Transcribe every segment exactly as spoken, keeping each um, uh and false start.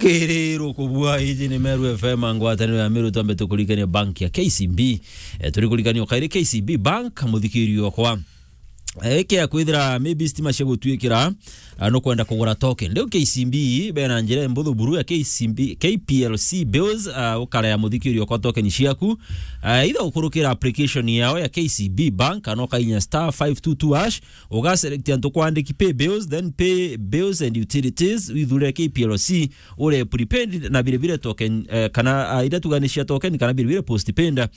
Kiriro kubua, iji ni Meru F M, ngwataniro ya Meru, twambe tukuririkania bank ya K C B. Eh, turikurikania kairi K C B Bank, muthikirio kwa. Eh, ikia kwithira maybe stima cia gutwikira, ah, nukwenda kugura token. Riu K C B bena njira imbuthu buru ya K C B, K P L C bills, ah, ukarea muthikirio kwa token ciaku. Ah, either ukurukira application yao ya K C B Bank, kana ukainya star five two two hash, ugaselect antu kwandiki pay bills, then pay bills and utilities, withure K P L C, ure prepaid na vile vile token, eh, kana, ah, iria tuganicia token kana vile vile postpaid, eh,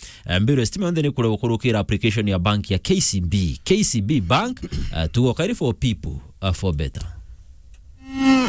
mbiru ya stima yonthe ni kure ukurukira application ya bank ya K C B. K C B Bank, eh, tugo kairi for people, uh, for better.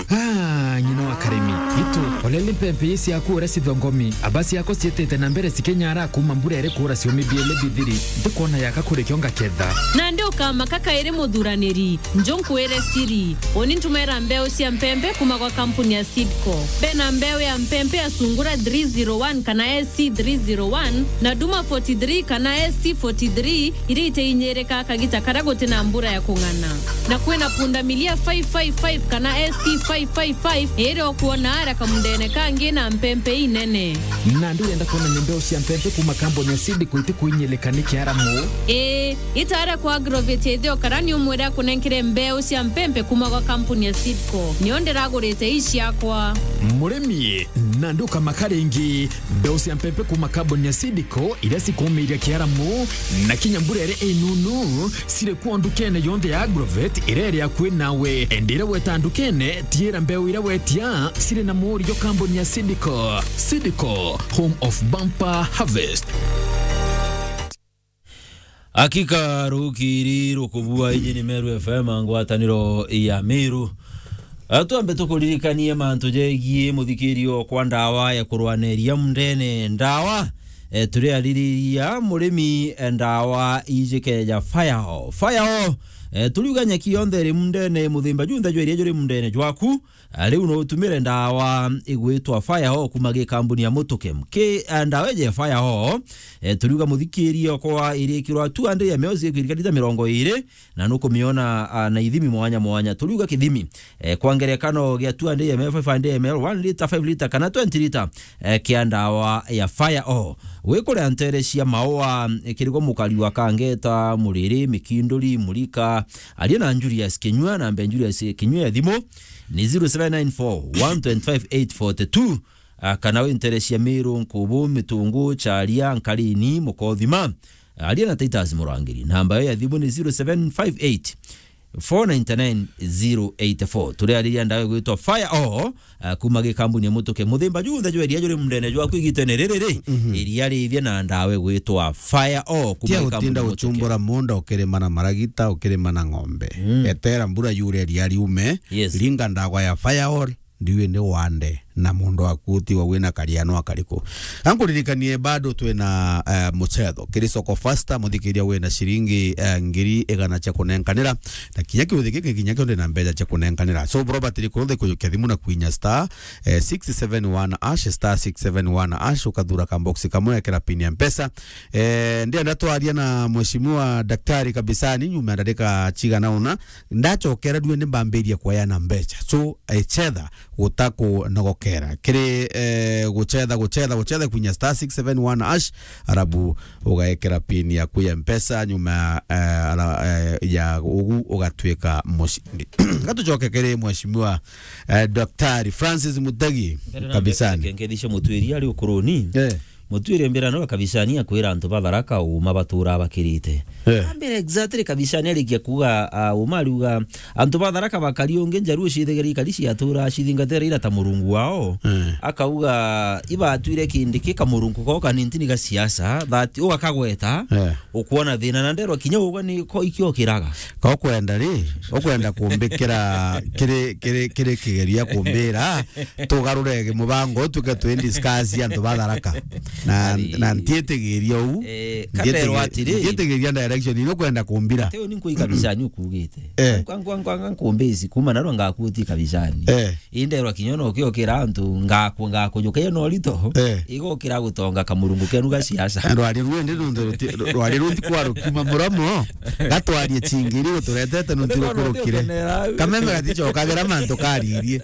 Ah, ng'ina wa karimi. Itu, olele mpempe ii ciaku uria cithongomi. Aba ciako ciitite na mbere cikinyara kuma mbura iri kuura ciumi biele bithiri. Ntikwona yaka kuri kio ngaketha. Nandi ukamaka kairi muthuraniri. Njo nkwire siri. Uni ntumera mbeu cia mpempe kuma gwa kampuni ya Seedco. Bena mbeu ya mpempe ya Sungura three zero one kana S C three zero one, na Duma forty-three kana S C forty-three, iria iteinyirika kagita karia guti na mbura ya kung'ana. Na kwina pundamilia five five five kana S C five five five, iri ukwona aria kamundene kangi na mpempe inene. Nandi urenda kwona ni mbeu cia mpempe kuma kampuni ya Seedco iti kuinyilika ni kiaramu? Ii, itaria kwa Agrovet ithio kara ni umwire akunenkere mbeu cia mpempe kuma gwa kampuni ya Seedco. Nio ndiragurite ii ciakwa. Murimi, nandi ukamaka ringi. Mbeu cia mpempe kuma kampuni ya Seedco iria cikumiria kiaramu na kinya mbura iri inunu, ciri kuo ndukene yonthe ya Agrovet iria iri akui nawe. Indi iria weta ndukene, tiira mbeu iria wetia ciri na murio kampuni ya Seedco. Seedco, home of bumper harvest. Hakika rukiri rukubua, iji ni Meru F M, ngwataniro ya Meru. Ah, twambe tukuririkanie mantu jegie muthikirio kwa ndawa ya kurwaneria mundene. Ndawa, eh, turiaririria murimi, eh, ndawa iji keja Fire All. Fire All, eh, turiuga nyeki yonthe iri mundene, muthimba junthe jwa iria juri mundene jwaku, ah, riu no utumire ndawa igwitwa Fire All kuma gi kambuni ya Mutukem. Ki, ah, ndawa iji ya Fire All, eh, turiuga muthikirio kwa irikirwa two hundred M L, cikwirika lita mirongo iri, na nukumiona, ah, na ithimi mwanya mwanya. Turiuga kithimi, eh, kwa ngerekano gia two hundred M L, five hundred M L, one liter, five liter kana twenty liter, eh, kia ndawa ya Fire All. Wikuria ntere cia maua, eh, kirigwa mukari wa kangeta, muriri, mikinduri, murika, aria na Julius Kinyua, namba ya Julius Kinyua ya thimu ni zero seven nine four, one twenty-five, eight forty-two. Ah, kana wi ntere cia Miru, Nkubu, Mitungu, Charia, Nkarini, Mukothima. Aria na Titus Murangiri. Namba yo ya thimu ni zero seven five eight, four nine nine, zero eight four. Turiariria ndawa igwitwa Fire All, ah, kuma gi kambuni ya Mutuke. Muthimba junthe jwa iria juri mundene jwaku igitene riri ri, iria rithia na ndawa igwitwa Fire All kuma gi kambuni ya Mutuke. Tia gutinda guchumbura munda ukirima na maragita, ukirima na ng'ombe. Mm. Etera mbura yure iria riume, yes, ringa ndawa ya Fire All, ndiwi ni wande, na mundu waku utiwa wina kariano akariku. Ankuririkanie bado twina, eh, mucetho. Kiri Soko Fasta, muthikiria wina ciringi, eh, ngiri igana cia kunenkanira, na kinya kiuthi giki kinya kio ndi na mbeca cia kunenkanira. So, bro, batiri kunthe kujukia thimu na kwinya star, eh, six seven one hash, star six seven one hash, ukathura ka box kamwe, ekera pin ya Mpesa. Eh, ndienda twaria na Mheshimiwa Daktari Kabisani nyuma ya ndarika cigana una, ndacokera rue ni mbambirie kueana mbeca. So, eh, chetha gutakunogokera. Kiri, eh, guchetha, guchetha, guchetha kwinya star six seven one hash, arabu ugaekera pin yaku ya Mpesa, nyuma, eh, ara-, eh, ya ugu ugatwika mucindi. Gatucoke kiri Mheshimiwa, eh, Daktari Francis Mutegi Kabisani. Mbere na mbere, reke ngethice Mutwiri ari ukuruni. Eh. Mutwiri mbira no Kabisani akwira antu ba Tharaka uma batura bakirite. Eh. Ambira exactly Kabisani arikia kuga, ah, uma ariuga antu ba Tharaka bakari ungi njaru cithigari kari ciatura cithingatira ira ta murungu wao. Eh. Akauga ibatwire kindi ki kamurungu kao kanintini ga siasa, that ugakagweta, eh, ukwona thina na nderwa kinya ugwa ni ko ikio kiraga. Ka ukwenda ri, ukwenda kumbikira kiri, kiri, kiri kigeria kumbira, tugarure mubango tuke twi discuss antu ba Tharaka. Na, na ntietigiria uu. Eh, kaberwa atiri. Ntietigiria direction ino kwenda kumbira. Ati uni nkui kabisa ni ukugite. Eh. Nkwa, nkwa, nkwa, nkwa nkumbisi, kuma narua ngakuti kabisa ni. Eh. Inderwa kinya no kiokira antu ngaku, ngakujuka iyo no rito. Eh. Igokira gutonga kamurungu kenu ga siasa. Rwari rwende nundu ruti-, rwari ruti kwa rukiuma muromo. Gatwarie chingiri uturetete nuntu rukurukire. Kameme gatichokagira mantu karirie.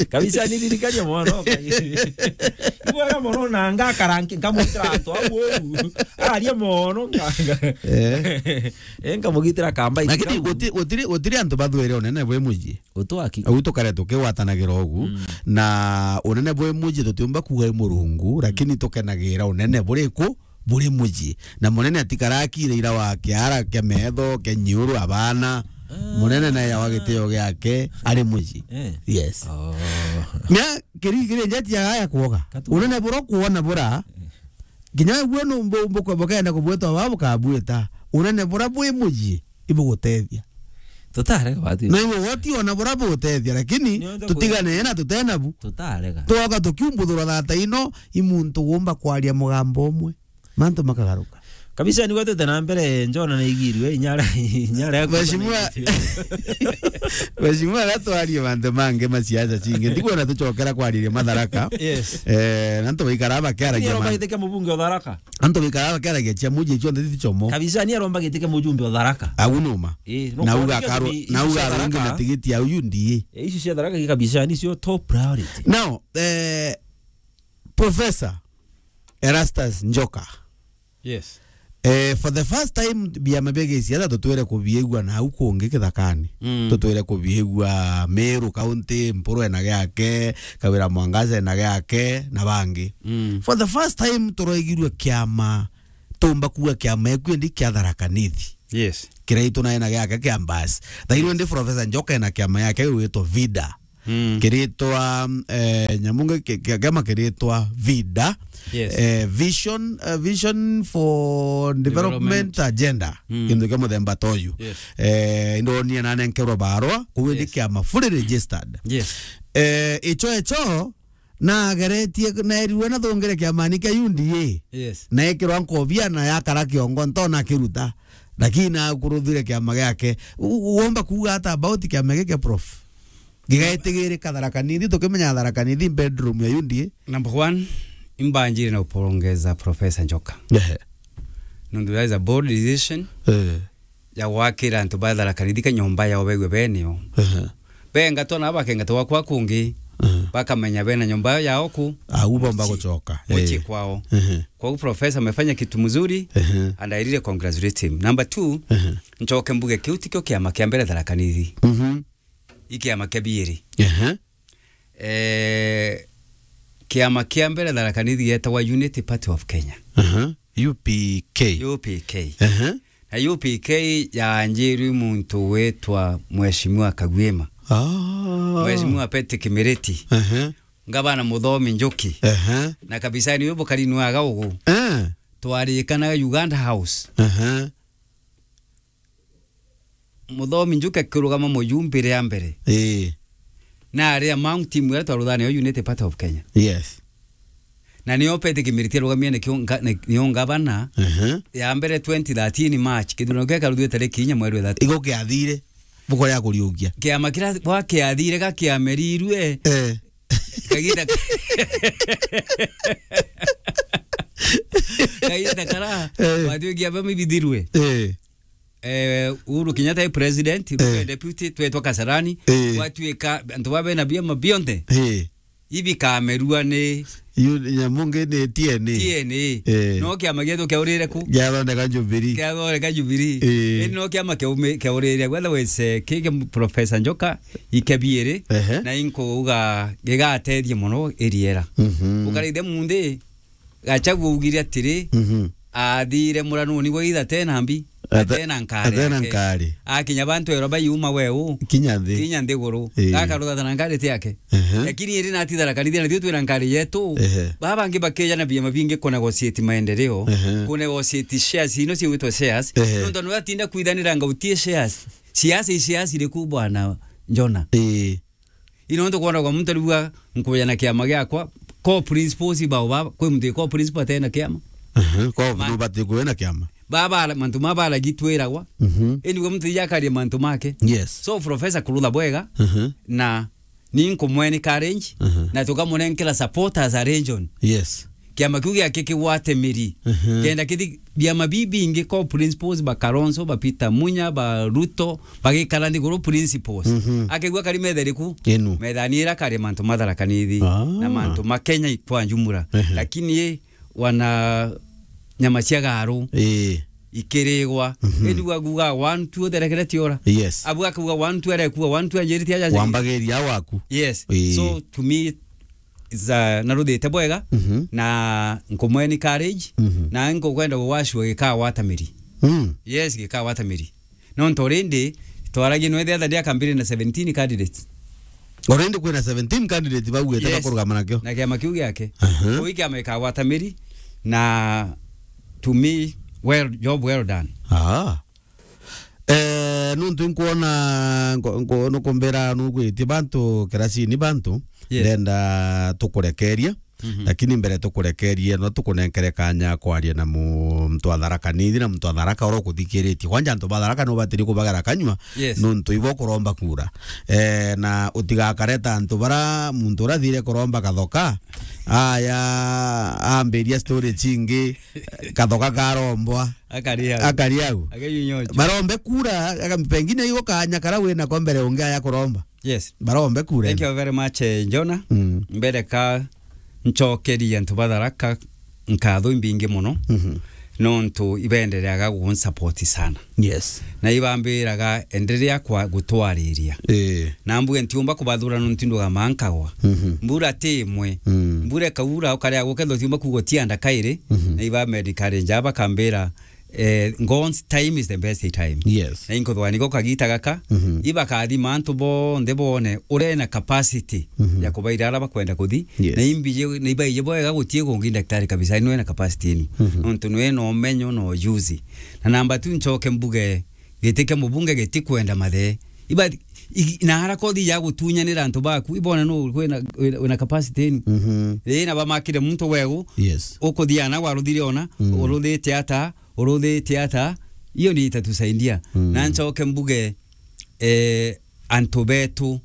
Kabisa ni ririkania mono. Ibwega mono na ngakara nki-, nkamwitira antu au uu. Aria mono nga-, nga-, eh, nkamugitira kamba. Lakini guti-, gutiri, gutiri antu bathwire unene bwi muji. Utwaki. Au tukare tukigwatanagira ugu. Mm. Na unene bwi muji tutiumba kuuga i Murungu, lakini tukenagira unene buriku buri muji. Na munene atikarakire ira wa kiara kia metho, kia nyiuru, abana. Ah. Munene naye awa gitio giake ari muji. Eh. Yes. Oh. Mia kiri, kiri njeti ya gaya kuoga. Katu. Unene bura kuona bura. Eh. Kinya gwe no mbo, mbo, bukenda kubweta wa bukabweta. Unene bura bwi muji ibugutethia. Tutarega bati. Na iwe woti ona bura bugutethia, lakini tutigane na tutena bu. Tutarega. Tuoka tukiumbuthura thata ino, i muntu wumba kwaria mugambo umwe. Mantu makagaruka. Kabisa, ni gwetete na mbere, njona na igirwe, inyara, inyara ya Mheshimiwa, Mheshimiwa, gatwarie mantu mangi ma siasa cingi. Ndikwona tucokera kwariria Matharaka. Yes. Eh, na antu baikara bakiaragia. Ni aromba ma- gitike mubunge o Tharaka. Antu baikara bakiaragia cia muji cionthe ti chomo. Kabisa, ni aromba gitike mujumbe o Tharaka. Au numa. Eh, na uga karo, na uga rungi na tigiti au ndi. Eh, icio cia Tharaka kabisa, ni cio top priority. Now, eh, Professor Erastus Njoka. Yes. Eh, for the first time, biama bia gisiasa tutwire kubiigua na au kungi kithakani. Mm. Tutwire kubiigua Meru County, Mpuru ena giake, Kawira Mwangaza ena giake, na bangi. Mm. For the first time, turoigirue kiama, tumba kuuga kiama ekwi ndi kia Tharaka Nithi. Yes. Kiraitu naye na giake kia Mbasi. Thairwe ndi Professor Njoka ena kiama yake gwitwa vida. Mm. Kiritwa, eh, nyamu ngi-, ki-, ki-, kiama kiritwa vida. Yes. Eh, vision, eh, vision for development, development agenda. Mm. Kintu kia muthemba ta uyu. Yes. Eh, indonie na nenkerwa barwa, kuwe ndi, yes, kiama fully registered. Yes. Eh, icho, icho, nageretie, naerirwe nathungire kiamani kia U D A. Yes. Naikirwa nkobia na yakara kiongo ntona kiruta. Lakini nakuruthire kiama giake. U-, u-, womba kuuga ata about kiama giki kia Prof? Gigaitigirika Tharaka Nithi, tukimenya Tharaka Nithi bedroom ya U D A. Number one, imbanjire na kupongeza Professor Njoka. Ehe. Nundu that is a bold decision, eh, ya gwakira antu ba Tharaka Nithi ka nyomba yao begwe beneo. Ehe. Bengatwa na bakengatwa kwa kungi, ehe, bakamenya bena nyomba yao ku. Au bomba gucoka. Mucii, eh, kwao. Ehe. Kwa hiyo Professor amefanya kitu mzuri, ehe, and I really congratulate him. Number two, ehe, nchoke mbuge kiu tikio kiama kia mbere Tharaka Nithi. Mhm. I kiama kia biiri. Ehe. Eh, kiama kia mbere Tharaka Nithi gietagwa Unity Party of Kenya. Aha. U P K. U P K. Aha. Na U P K yaanjirwe muntu witwa Mheshimiwa Kagwima. Ah. Mheshimiwa Patrick Miriti. Aha. Ngavana Muthomi Njuki. Aha. Na kabisa ni we bukari nwaga ugu. Eh. Twarikanaga Uganda House. Aha. Muthomi Njuki akirugama mujumbe ria mbere. Ii. Na ari among team iria twaruthanaga yo United Party of Kenya. Yes. Na nio Patrick Miriti arugamie nikio nga-, ni-, nio ngavana. Aha. Ya mbere twenty thirteen March, kithurano kia karuthwe tariki inya mweri wa ithatu. Igo kiathire, buko ria kuriukia. Kiama kiria gwa kiathire ga kiamerirwe. Eh. Kagiita ka-, kagiita kara, eh, gwatuikia bamibithirwe. Eh. Eh, Uhuru Kenyatta e president, eh, Ruto e deputy, twetwa Kasarani, eh, gwatuika antu ba bena biama bionthe, eh, ibikamerua ni yu-, nyamu ngi ni T N A. T N A. Eh. No kiama gietu kiaurire ku? Kiathondeka Jubilee. Kiathondeka Jubilee. Eh. Indi no kiama kiaume-, kiaurire. Otherwise, eh, ki, ki Professor Njoka, ikebiiri, ehe, na inkuuga gigatethia mono iriera. Mhm. Ukarithia munthi, Gachagua augire atiri, mhm, athire muranuni gwa ithe atena mbi, ate-, atena nkari atena yake. Nkari. Akinya bantu ero bayuma weu, kinya nthi. Kinya nthiguru. Ii. Gakarutha na nkari ti yake. Ehe. Lakini iri nati Tharaka Nithi, na tio twina nkari yetu. Ehe. Baba bangi bakeja na biama bingi ku negotiate maendeleo, ehe, ku negotiate shares, ino ciwitwa shares. Ehe. Nontu nwe atinda kwithanira ngautie shares. Siasa i siasa iriku bwana Njona? Ii. Ino ntu kwona kwa muntu ariuga nkuja na kiama giakwa, Ko principles bao ba, kwi muntu ko principal atena kiama. Aha, ko Ma- no bati kwena kiama. Baba, mantu ma baragi twiragwa. Mhm. Anyway, muntu ija akaria mantu make. Yes. So, Professor Kurutha bwega, Mhm. na ni nkumwe encourage, Mhm. na tukamunenkera support as a region. Yes. Kiama kiu giake kigwate miri. Mhm. Kenda kithi biama bibingi ko principles ba Kalonzo, ba Peter Munya, ba Ruto, bagikara nthiguru principles. Mhm. Akigua kari metheriku, Inu. methani ira kari mantu ma Tharaka Nithi, Ah. na mantu ma Kenya kwa njumura. Ehe. Lakini ye, wana nyama cia garu Ii. ikirigwa. Mhm. Indi aguga one two therekere tiora. Yes. Abu akauga one two arekua one two anjirite aja. Wambagiria waku. Yes. Ii. So to me, za, naruthite bwega, Mhm. na nkumwe encourage, Mhm. na nkukwenda gwashua gikagwata miri. Mm. Yes, gikagwata miri. Nontu already twaragia nwe the other day akambire na seventeen candidates. Already kwina seventeen candidates bauite Yes. bakurugama nakio. Na kiama kiu giake. Aha. Kuu kiama gikagwata miri, na to me, well, job well done. Ah. Eh, nuntu nkwona, nko-, nko-, nukumbira nugwitie bantu kirasini bantu, Yes. ndenda tukurekeria, Mhm. lakini mbere tukurekerie, no tukunenkere kanya kwaria na muntu wa Tharaka Nithi na muntu wa Tharaka uria ukuthikiritie. Kwanja antu ba Tharaka no batiri kubagara kanyua, Yes. nuntu ibo kuromba kura. Eh, na utigakareta antu bara muntu uria athire kuromba Kathoka, aya, ambiria story chingi, Kathoka karombwa. Akari au. Akari au. Akeyunyocha. Barombe kura, aga-, pengine igo kanya kara wina ko mbere ungi aya kuromba. Yes. Barombe kura. Thank you very much, eh, Jonah. Mm. Mbere ka nchokerie antu ba Tharaka nkatho imbingi muno. Mhm. Nontu ibendereaga gunsupport sana. Yes. Na ibambiraga enderea kwa gutwariria. Eh. Na mbuge ntiumba kubathura nontu nduga mankagwa. Mhm. Mbura ti imwe. Mm. Mbura ikaura, ukaria gukethwa tiumba kugo tianda kairi. Mhm. Na iba medical ranger bakambira, eh, God's time is the best time. Yes. Na inkuthwa niko kagita gaka, Mhm. ibakathima antu bonthe bone ure na capacity Mhm. ya kubaira ara bakwenda kuthi. Yes. Na imbije, na ibaije bwega gutie kungi daktari kabisa, nwe na capacity inu. Mhm. Nontu nwe na umenyo na ujuzi. Na namba tu nchoke mbuge, giti kia mubunge giti kwenda mathe. Iba, i-, na ara kothi ya gutunyanira antu baku, ibone no wina, wina, wina capacity inu. Mhm. Ri na bamakire muntu wegu, Yes. ukuthia na waruthire ona, Mm. uruthite ata, uruthite ata, iyo ni itatusaidia. Mm. Na nchoke mbuge, eh, antu betu,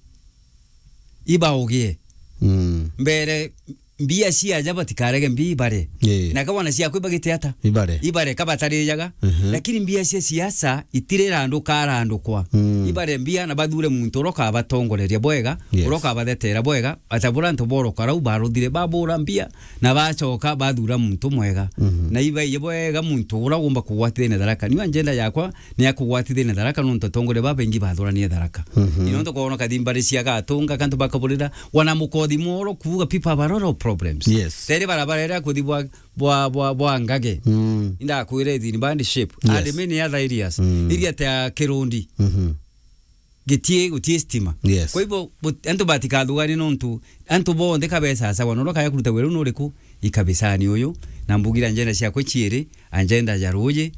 ibaugie. Mm. Mbere, mbia cia aja batikarege mbia ibare. Ii. Na kabona ciakwa ibagite ata? Ibare. Ibare kabatarijaga. Mhm. Lakini mbia cia siasa itirirandukarandukwa. Mm. Ibare mbia na bathure muntu uria ukabatongoreria bwega, Yes. uria ukabathetera bwega, ata bura antu boroka rau baruthire, babura mbia, na bacoka bathura muntu mwega. Mhm. Na ibaie bwega muntu uria ugomba kugwatithia na Tharaka. Niu agenda yakwa ni ya kugwatithia na Tharaka, nontu atongoria babaingi bathuranie Tharaka. Mhm. Ni nontu kwona kathi mbari cia Gatunga, kantu bakaburira, wana mukothi moro kuuga people have a lot of problems. Yes. Teri barabara iria kuthi bwa, bwa, bwa, bwa Ngage. Mm. Indakwire ithini bandi shape. Yes. Admin ya Thairias. Mm. Iria ta Kirundi. Mhm. Gitie, gutie stima. Yes. Kwa hivyo, but-, antu batikathugani nontu, antu bonthe kabesasagwa, na uria kaya kuruta wira nuriku, ikabisani uyu, na mbugira agenda ciakwa ciiri, agenda ya ruuji,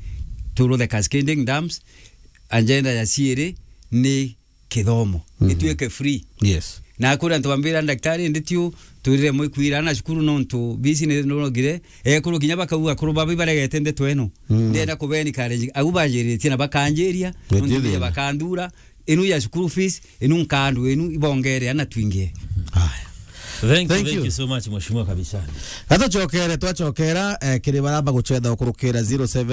turu the cascading dams, agenda ya ciiri ni kithomo. Mhm. Gituike free. Yes. Na kuri antu bambira, "Daktari, ndi tiu, twirire mwikwira na cukuru nontu bisi ni nurogire." Ekuru kinya bakauga, "Akuru babi baregete ndeto eno." Mm. Ndenda kubeni encourage. Au banjiritie na bakanjiria, Gutire nontu thina. Bakandura, inu ya school fees, inu nkandu, inu ibongere ana twingi. Haya. Thank you, Thank thank you. you so much, Mheshimiwa Kabishani. Gatucokere, twacokera, eh, kiri baramba gucetha ukurukira zero seven